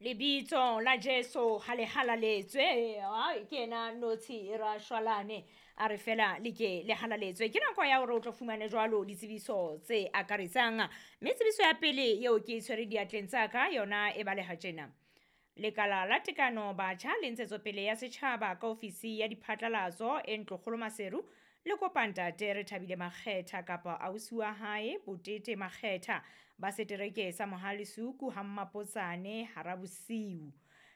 Lebitso la Jesu ha le halaletswe. Ai, ke ena notshi e ra shwalane a re fela le ke le halaletswe. Ke nako ya hore o tlo fumane jwalo ditsebiso tse akaretsang, mme tsebiso ya pele eo ke e tshwere diatleng tsa ka yona e baleha tjena. Lekala la Tekano Batjha le Ntshetsopele ya Setjhaba ka ofisi ya diphatlalatso e Ntlokgolo Maseru le kopa ntate Rethabile Makgetha kapa ausi wa hae Botete Makgetha ba setereke sa Mohale Suku ha Mmapotsane hara bosiu.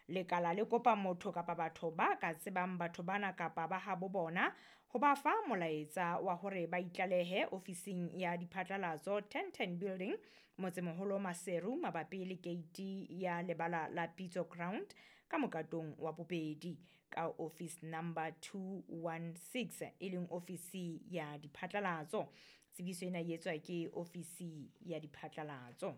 Lekala le kopa motho kapa batho ba ka tsebang batho bana kapa ba habo bona ho ba fa molaetsa wa hore ba itlalehe ofising ya diphatlalatso 1010 Building, Motsemoholo Maseru, mabapi le keiti ya lebala la Pitso Ground ka mokatong wa bobedi ka office number 216, e leng ofisi ya diphatlalatso. Tsebiso ena e etswa ke ofisi ya diphatlalatso.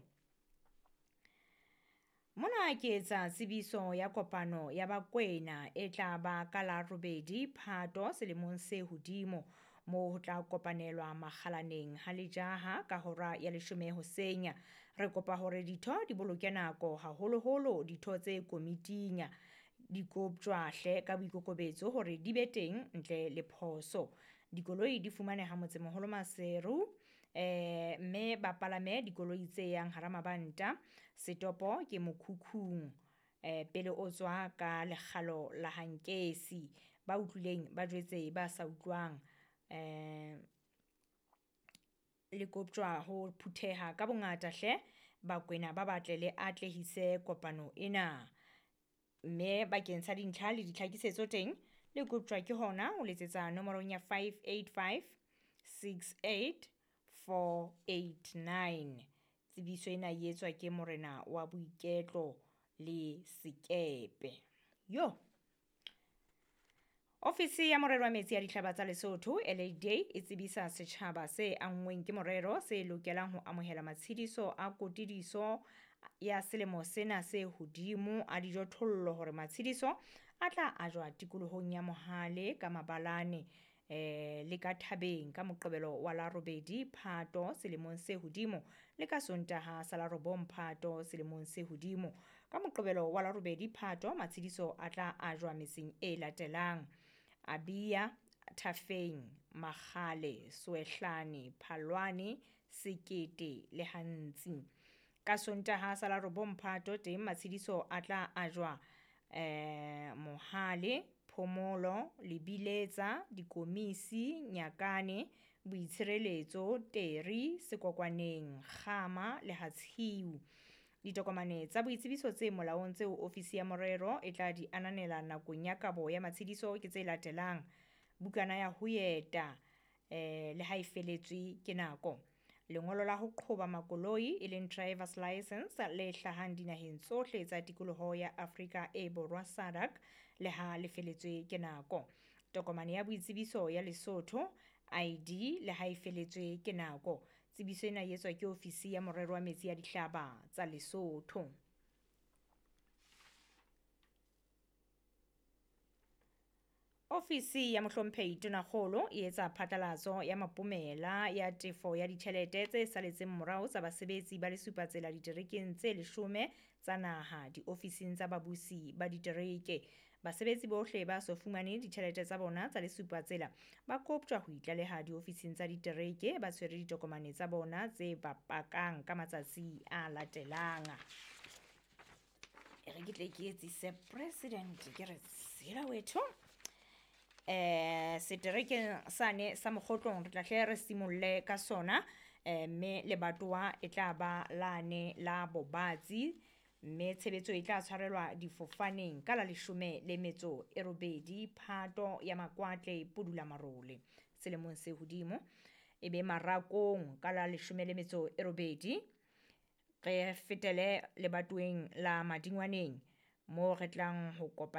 Mona ke etsa tsebiso ya kopano ya Bakwena e tla ba ka la 8 Phato selemong se hodimo, moo ho tla kopanelwa makgalaneng ha lejaha ka hora ya 10 hoseng. Re kopa hore ditho di boloke nako, haholoholo ditho tse komiting. Di koptjwa hle ka boikokobetso hore di be teng ntle le phoso. Dikoloi di fumaneha Motsemoholo Maseru, mme ba palame dikoloi tse yang hara mabanta. Setopo ke mokhukhung, pele o tswa ka lekgalo la Hankesi. Ba utlwileng ba jwetse ba sa utlwang. Le koptjwa ho phutheha ka bongata hle, Bakwena ba batle le atlehise kopano ena. Mme bakeng sa dintlha le ditlhakisetso teng, le koptjwa ke hona ho letsetsa nomorong ya 585 68 489. Tsebiso ena e etswa ke morena wa boiketlo le sekepe. Yo. Ofisi ya morero wa metsi ya dihlaba tsa Lesotho LADA e tsebisa setjhaba se anngweng ke morero se lokelang ho amohela matshediso a kotidiso ya selemo sena se hodimo a dijothollo hore matshediso a tla ajwa tikolohong ya Mohale ka Mabalane, le ka Thabeng ka Moqebelo wa la 8 Phato selemong se hodimo le ka Sontaha sa la 9 Phato selemong se hodimo. Ka Moqebelo wa la 8 Phato matshediso a tla ajwa metseng e latelang: Abia, Thafeng, Makgale, Soehlane, Phalwane, Sekete le Hantsi. Ka Sontaha sa la 9 Phato teng matshediso a tla ajwa Mohale, Phomolo, Lebiletsa, Dikomisi, Nyakane, Boitshireletso, Teri, Sekokwaneng, Kgama le Hatshiu. Ditokomane tsa boitsebiso tse molaong tseo ofisi ya morero e tla di ananela nakong ya kabo ya matshediso ke tse latelang: bukana ya ho eta, le ha e feletswe ke nako, lengolo la ho qhoba makoloi e leng driver's license le hlahang dinaheng tsohle tsa tikoloho ya Afrika e Borwa SADC le ha le feletswe ke nako, tokomane ya boitsebiso ya Lesotho ID le ha e feletswe ke nako. Tsebiso ena e etswa ke ofisi ya morero wa metsi ya dihlaba tsa Lesotho. Ofisi ya mohlomphehi Tonakgolo e etsa phatlalatso ya mapomela ya tefo ya ditjhelete tse saletseng morao tsa basebetsi ba lesupatsela diterekeng tse 10 tsa naha diofising tsa babusi ba ditereke. Basebetsi bohle ba so fumane ditjhelete tsa bona tsa lesupatsela ba koptjwa ho itlaleha diofising tsa ditereke ba tshwere ditokomane tsa bona tse ba pakang ka matsatsi a latelang. E re ke tle ke etsise president ke re tsela wetho. Seterekeng sane sa Mokgotlong re tla hle re simolle ka sona, mme lebatowa e tla ba lane la Bobatsi, mme tshebetso e tla tshwarelwa difofaneng ka la 18 Phato ya Makwatle Pudula Marole selemong se hodimo. E be Marakong ka la 18, re fetele lebatoweng la Madingwaneng mo re tlang ho kopana